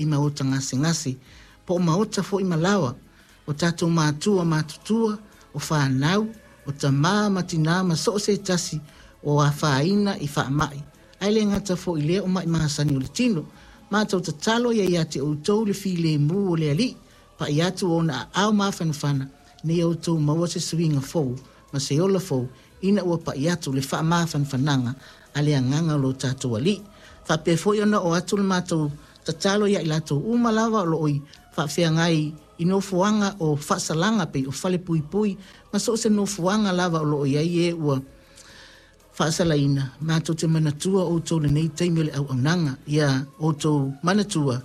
I maota gasegase, po o maota foi ma laoa, o tatou matua matutua, o fanau, o tamā ma tinā ma so o se tasi o afaina i faamai, ae le gata foi i lea o mai masani o le tino. Matou tatalo ia ia te outou le filemu o le Alii, pai atu ona aao mafanafana, ina ia outou maua se suiga fou ma se ola fou ina ua pai atu le faamafanafanaga a le Agaga o lo tatou Alii. Faapea foi ona oo atu le matou tatalo ia i latou uma lava o lo o i faafeagai i nofoaga o faasalaga pei o falepuipui ma so o se nofoaga lava o lo o i ai e ua faasalaina, matou te manatua outou i lenei taimi o le auaunaga. Ia outou manatua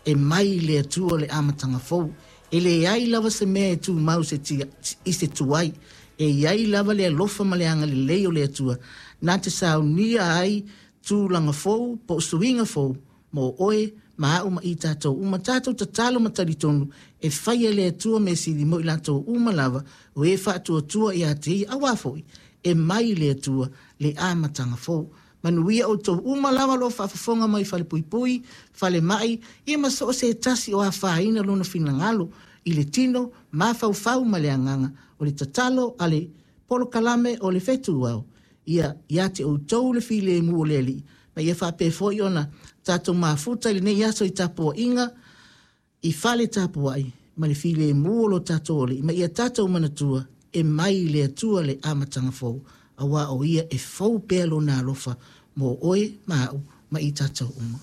e mai i le Atua le amataga fou. E leai lava se mea e tumau se tia, i se tuai. E i ai lava le alofa ma le agalelei o le Atua na te saunia ai tulaga fou po o suiga fou mo oe ma au ma i tatou uma. Tatou tatalo ma talitonu e faia e le Atua mea sili mo i latou uma lava o e faatuatua ia te ia, auā foi e mai i le Atua le amataga fou. Manuia outou uma lava o lo o faafofoga mai falepuipui, falemai, ia ma so o se tasi o afaina lona finagalo i le tino, mafaufau ma le agaga. O le tatalo a le polokalame o le Fetuao, ia ia te outou le filemu o le Alii, ma ia faapea foi ona tatou mafuta i lenei aso i tapuaiga i fale tapuai ma le filemu o lo tatou Alii, ma ia tatou manatua e mai i le Atua le amataga fou, auā o ia e fou pea lona alofa mo oe ma au ma i tatou uma.